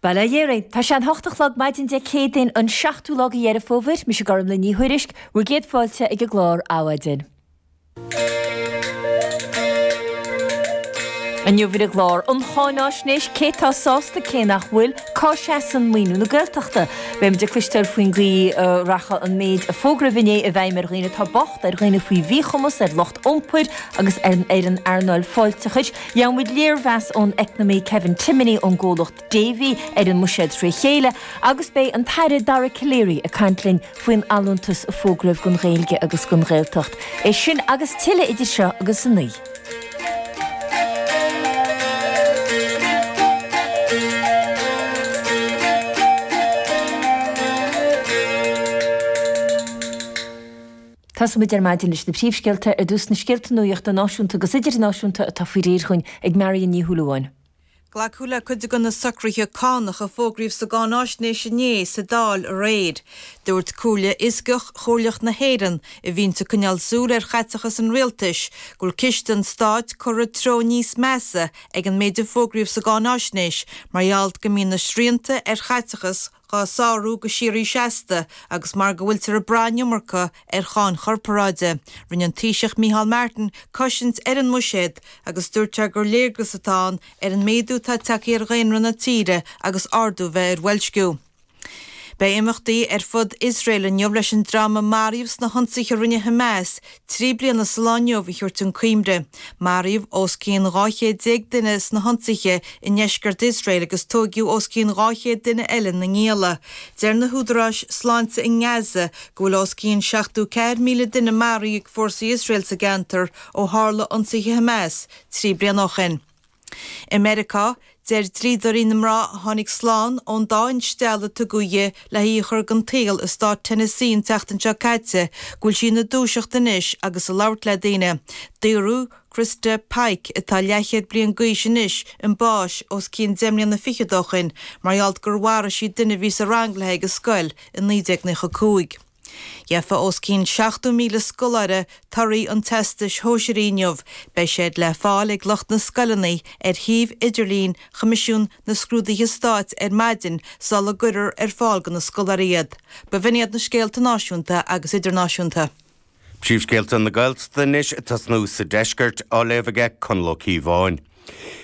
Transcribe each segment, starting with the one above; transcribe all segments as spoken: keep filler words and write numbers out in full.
Bail ó Dhia oraibh. Tá sé an hocht a chlog maidin Dé Céadaoin an seachtú lá de Dheireadh Fómhair. Mise Gormlaith Ní Thuairisg, bhur gcéad fáilte ag an gclár Adhmhaidin. Inniu ar an gclár, an cháináisnéis, cé tá sásta, cé nach bhfuil, cá seasann maoiniú na Gaeltachta? Beimid ag cloisteáil faoin gcaoi a rachaidh an méid a fógraíodh inné i bhfeidhm ar dhaoine atá bocht, ar dhaoine faoi mhíchumas, ar lucht iompair agus ar an earnáil fáilteachais. Gheobhaimid léirmheas ón eacnamaí Kevin Timoney ón gcomhlacht Davy ar an mbuiséad tré chéile agus beidh an tAire Dara Calleary ag caint linn faoin allúntas a fógraíodh don Ghaeilge agus don Ghaeltacht. É sin agus tuilleadh idir seo agus a naoi. Tosóimid ar maidin leis na príomhscéalta, ar dtús na scéalta nuachta náisiúnta agus idirnáisiúnta atá faoi réir chugainn ag Marion Ní Shúilleabháin. Glacadh le cuid de na socruithe cánach a fógraíodh sa gcáináisnéis inné sa Dáil aréir. Dúirt Comhairle Fhioscach Chomhairleach na hÉireann, a bhíonns ag coinneáil súil ar chaiteachas an rialtais, go bhfuil ciste an stáit curtha i dtreo níos measa ag an méid a fógraíodh sa gcáináisnéis mar gheall go mbíonn na srianta ar chaiteachas dhá sárú go síoraí seasta agus mar go bhfuiltear ag brath an iomarca ar cháin chorparáide. Rinne an Taoiseach Micheál Martin cosaint ar an mbuiséad agus dúirt sé gur léargas atá ann ar an méadú atá tagtha ar dhaonra na tíre agus ardú a bheith ar bhoilsciú. Beidh imeachtaí ar fud Iosrael inniu leis an dream a maraíodh sna hionsaithe a rinne Hamas trí bliana sa lá inniu a thabhairt chun cuimhne. Maraíodh os cionn dhá chéad déag duine sna hionsaithe i ndeisceart Iosrael agus tóigeadh os cionn dhá chéad duine eile ina ngialla. Deir na húdaráis sláinte i nGaza go bhfuil os cionn seachtó ceathair míle duine maraithe ag fórsaí Iosrael sa gceantar ó tharla ionsaithe Hamas trí bliana ó shin. I Meiriceá, deir dlíodóirí na mná a tháinig slán ón dá instealladh a tugadh di le hí a chur den tsaol i stát Tennessee an tseachtain seo caite go bhfuil sí ina dúiseacht anois agus ag labhairt le daoine. Daoradh Christa Pike, atá leathchéad bliain d'aois anois, chun báis os cionn deich mbliana fichead ó shin mar gheall gur mharaigh sí duine a bhí sa rang léi ag an scoil i naoi déag nócha cúig. Gheofaidh os cionn seachtó míle scoláire torthaí an Teastais Shóisearaigh inniu. Beidh siad le fáil ag lucht na scoileanna ar shuíomh idirlín Choimisiún na Scrúduithe Stáit ar maidin sula gcuirfear ar fáil do na scoláirí iad. B'in iad na scéalta náisiúnta agus idirnáisiúnta. Príomhscéalta na Gaeltachta anois ag tosnú sa deisceart, á léamh aige Conall Ó Cíobháin.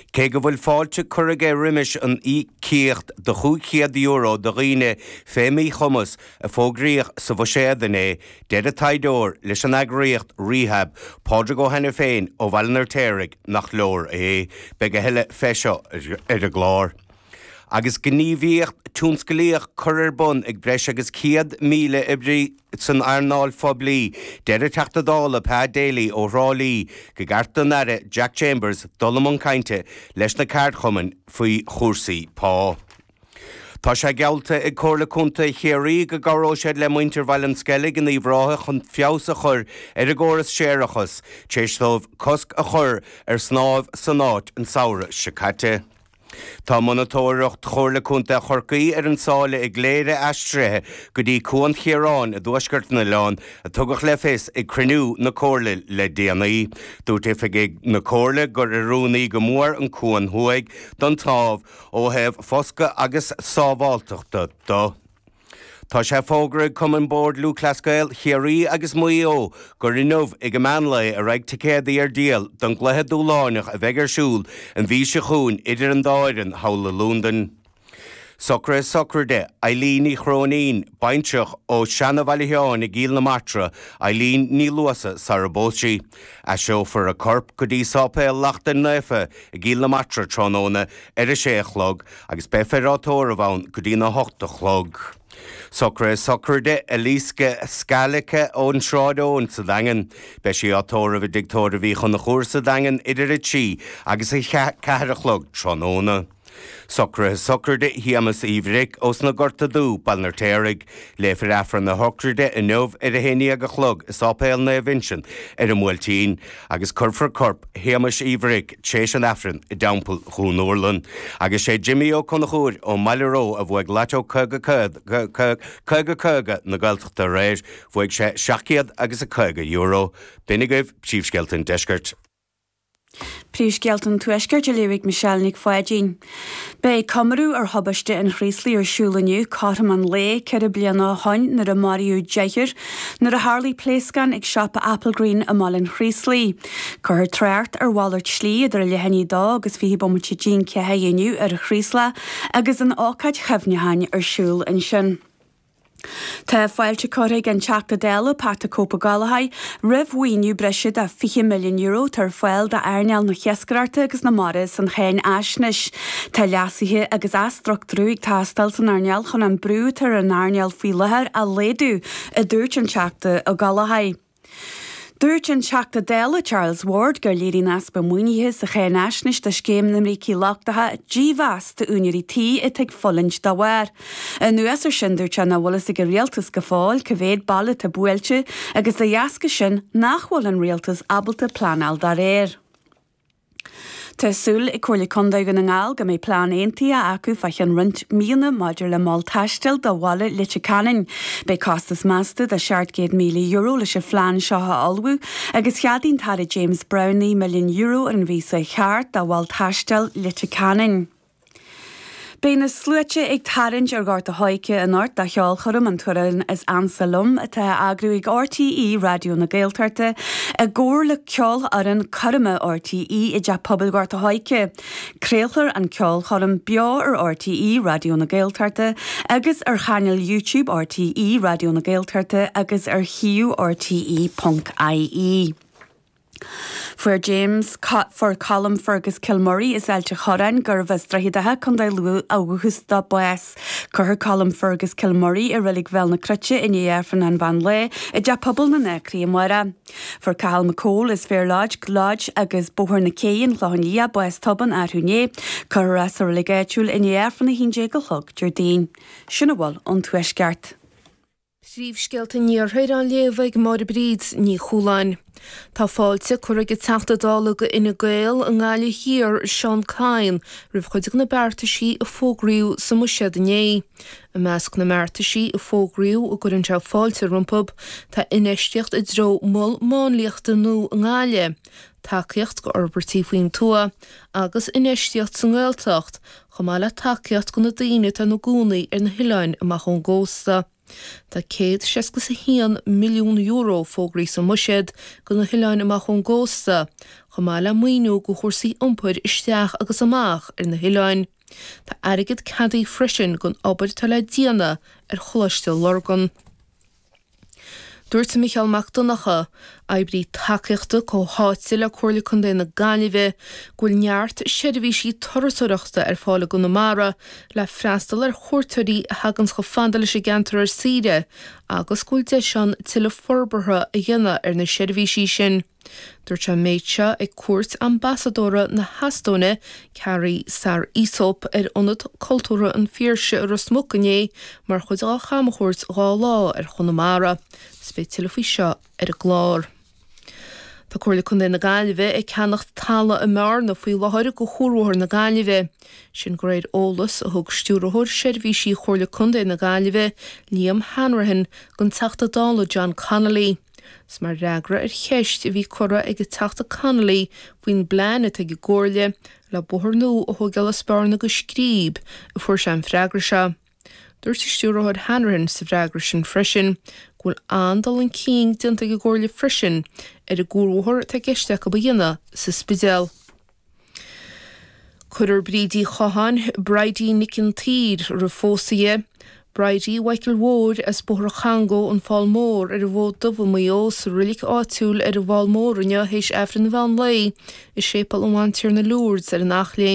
Cé go bhfuil fáilte curtha aige roimis an íocaíocht de chúig chéad euro do dhaoine fé mhíchumas a fógraíodh sa bhuiséad inné, deir an taighdeoir leis an eagraíocht Rehab, Pádraig Ó hAiniféin ó Bhaile an Fheirtéaraigh, nach leor é. Beidh a thuilleadh fé seo ar an gclár. Agus gníomhaíocht tionsclaíoch curtha ar bun ag breis agus céad míle oibrí san earnáil phoiblí, deir an Teachta Dála Pa Daly ó Thrá Lí go gceart don Aire Jack Chambers dul i mbun cainte leis na ceardchumainn faoi chúrsaí pá. Tá sé geallta ag Comhairle Contae Chiarraí go gcabhróidh siad le muintir Bhaile an Sceilg in Uíbh Ráthaigh chun feabhas a chur ar a gcóras séarachais tar éis dóibh cosc a chur ar shnámh san áit an samhradh seo caite. Tá monatóireacht Chomhairle Contae Chorcaí ar an tsáile i gCléire aistrithe go dtí Cuan Chiaráin i dtuaisceart an oileáin, a tugadh le fios ag cruinniú na Comhairle le déanaí. Dúirt oifigigh na Comhairle gur oiriúnaí go mór an cuan thuaidh don tsnámh ó thaobh foscadh agus sábháilteachta de. Tá sé fógartha ag Cumann Bord Lúthchleas Gael Chiarraí agus Mhaigh Eo gur inniu ag an meán lae a raghaidh ticéadaí ar díol don gcluiche dúshláineach a bheidh ar siúl an mhí seo chugainn idir an dá fhoireann thall i Londain. Socruithe sochraide Eileen Ní Chróinín, baintreach ó Seana-Bhaile Sheáin i gCill na Martra, Eileen Ní Luasa sara bpós sí. Aistreofar a corp go dtí Sáipéal Lachtain Naofa i gCill na Martra tráthnóna ar a sé a chlog agus beifear á tórramh ann go dtína hocht a chlog. Socruithe sochraide Eliska Scalica ón Sráid Eoin sa Daingean. Beidh sí á tórramh i dTigh Tórraimh Uí Chonchúir sa Daingean idir a trí agus a ceathair a chlog tráthnóna. Socruithe sochraide Shéamus Uí Bhric ós na Gorta Dubh, Baile an Fheirtéaraigh. Léifear Aifreann a shocraide inniu ar a haon déag a chlog i Sáipéal Naomh Uinseann ar an mBuailtín agus cuirfear corp Shéamuis Uí Bhric tréis an Aifrinn i dTeampall Dhún Urlann. Agus sé Jimí Ó Conchúir ón mBaile Ró a bhuaigh Lató caoga caoga caoga na Gaeltachta aréir. Bhuaigh sé seacht gcéad agus a caoga euro. B'in agaibh príomhscéalta an deiscirt. Príomhscéalta an Tuaiscirt á léamh ag Michelle Nic Pháidín. Beidh comóradh ar thubaiste an Chraoslaigh ar siúl inniu cothrom an lae ceithre bliana ó shin nuair a maraíodh deichniúr nuair a tharlaigh pléascán ag siopa Applegreen i mBaile an Chraoslaigh. Cuirfear trácht ar mhalairt slí idir a leath i ndiaidh a dó agus fiche bomaite i ndiaidh a ceathair inniu ar an Chraoslach agus an ócáid chuimhneacháin ar siúl ansin. Tá fáilte curtha ag an Teachta Dála Pat the Cope Ó Gallchóir roimh mhaoiniú breise de fiche milliún euro atá ar fáil d'earnáil na hiascaireachta agus na mara san cháinaisnéis. Tá leasuithe agus athstruchtúrú ag teastáil san earnáil chun an brú atá ar an earnáil faoi láthair a laghdú, a dúirt an Teachta Ó Gallchóir. Dúirt an Teachta Dála Charles Ward gur léiríonn easpa maoinithe sa cháinaisnéis do scéim na mbrící lochtacha dímheas d'úinéirí tí atá ag fulaingt dá bharr. Anuas air sin dúirt sé nach bhfuil fhios ag an rialtas go fóill cá mhéad baile atá buailte agus de dheasca sin nach bhfuil an rialtas ábalta pleanáil dá réir. Tá súil ag Comhairle Contae Dhún na nGall go mbeidh plean aontaithe acu fá cheann roinnt míonna maidir le mol taistil do bhaile Leitir Ceanainn. Beidh costas measta de seacht gcéad míle euro leis an phlean seo a ullmhú agus cheadaigh an tAire James Browne naoi milliún euro ar an mhí seo thart do mhol taistil Leitir Ceanainn. Beidh na sluaite ag tarraingt ar Ghort a' Choirce anocht do cheolchoirm An tAmhrán is Ansa Liom atá á eagrú ag RTÉ Raidió na Gaeltachta i gcomhar le Ceolfhoireann Coirme RTÉ i dTeach Pobail Ghort a' Choirce. Craolfar an ceolchoirm beo ar RTÉ Raidió na Gaeltachta agus ar chainéal YouTube RTÉ Raidió na Gaeltachta agus ar shuíomh RTÉ ponc IE. Fuair James fuair Colm Fergus Kilmurray as Ailt an Chorráin gurbh as Droichead Átha, Contae Lú ó dhúchas dó bás. Cuirfear Colm Fergus Kilmurray i Reilig Bhéal na Cruite i ndiaidh Aifreann an mheán lae i dTeach Pobail na nAcraí amárach. Fuair Cathal McCole as Fair Lodge, Lodge agus Bóthar na Cé, an Clochán Liath, bás tobann arú inné. Cuirfear é sa reilig áitiúil i ndiaidh Aifreann a haon déag a chlog Déardaoin. Sin a bhfuil ón Tuaisceart. Príomhscéalta an Iarthair á léamh ag Máire Bríd Ní Chualáin. Tá fáilte curtha ag an Teachta Dála do Fhine Gael i nGaillimh Thiar, Seán Kyne, roimh chuid de na beartaisí a fógraíodh sa mBuiséad inné. I measc na mbeartaisí a fógraíodh a gcuireann sé fáilte rompu tá infheistíocht i dtreo mol máinliachta nua i nGaillimh, tacaíocht go fhorbairtí faoin tuath agus infheistíocht sa nGaeltacht, chomh maith le tacaíocht do na daoine atá ina gcónaí ar na hoileáin amach ón gcósta. Tá céad seasca is a haon milliún euro fógraithe sa mBuiséad do na hoileáin amach ón gcósta, chomh maith le maoiniú do chúrsaí iompair isteach agus amach ar na hoileáin. Tá airgead ceadaithe freisin don obair atá le déanamh ar Choláiste Lurgan. Dúirt Micheál Mac Donncha, oibrí tacaíochta comhtháite le Comhairle Contae na Gaillimhe, go bhfuil neart seirbhísí turasóireachta ar fáil i gConamara le freastal ar chuairteoirí a thagann chomh fada leis an gceantar ar saoire agus go bhfuil deis ann tuilleadh forbartha a dhéanamh ar na seirbhísí sin. Dúirt sé an méid seo ag cuairt Ambasadóra na hEastóine, Carrie Saar-Isop, ar Ionad Cultúrtha an Phiarsaigh i Ros Muc inné mar chuid dá chamchuairt dhá lá ar Chonamara. Is beidh tuilleadh faoi seo ar an gclár. Tá Comhairle Contae na Gaillimhe ag ceannacht talamh i mBearna faoi láthair do Chuarbhóthar na Gaillimhe. Sin de réir eolas a thug Stiúrthóir Seirbhísí Chomhairle Contae na Gaillimhe, Liam Hanrahan, don Teachta Dála John Connolly. Is mar fhreagra ar cheist a bhí curtha ag an Teachta Connolly faoin bplean atá ag an gComhairle le bóthar nua a thógáil as Bearna go Scríb a fuair sé an freagra seo. Dúirt an Stiúrthóir Hanrahan sa bhfreagra sin freisin go bhfuil an-dul chun cinn déanta ag an gComhairle freisin ar an gcuarbhóthar atá i gceist acu a dhéanamh sa Spidéal. Cuirfear Bríd Uí Chatháin, Bridie Nic an tSaoir, roimh phósadh di, Bridie Mhichael Mhóir as Bóthar Changó, An Fál Mór, ar an bhFód Dubh i Maigh Eo, sa roilig áitiúil ar an bhFál Mór inniu théis Aifreann an mheán lae i Séipéal an Bhantiarna Lourdes ar an Eachléim.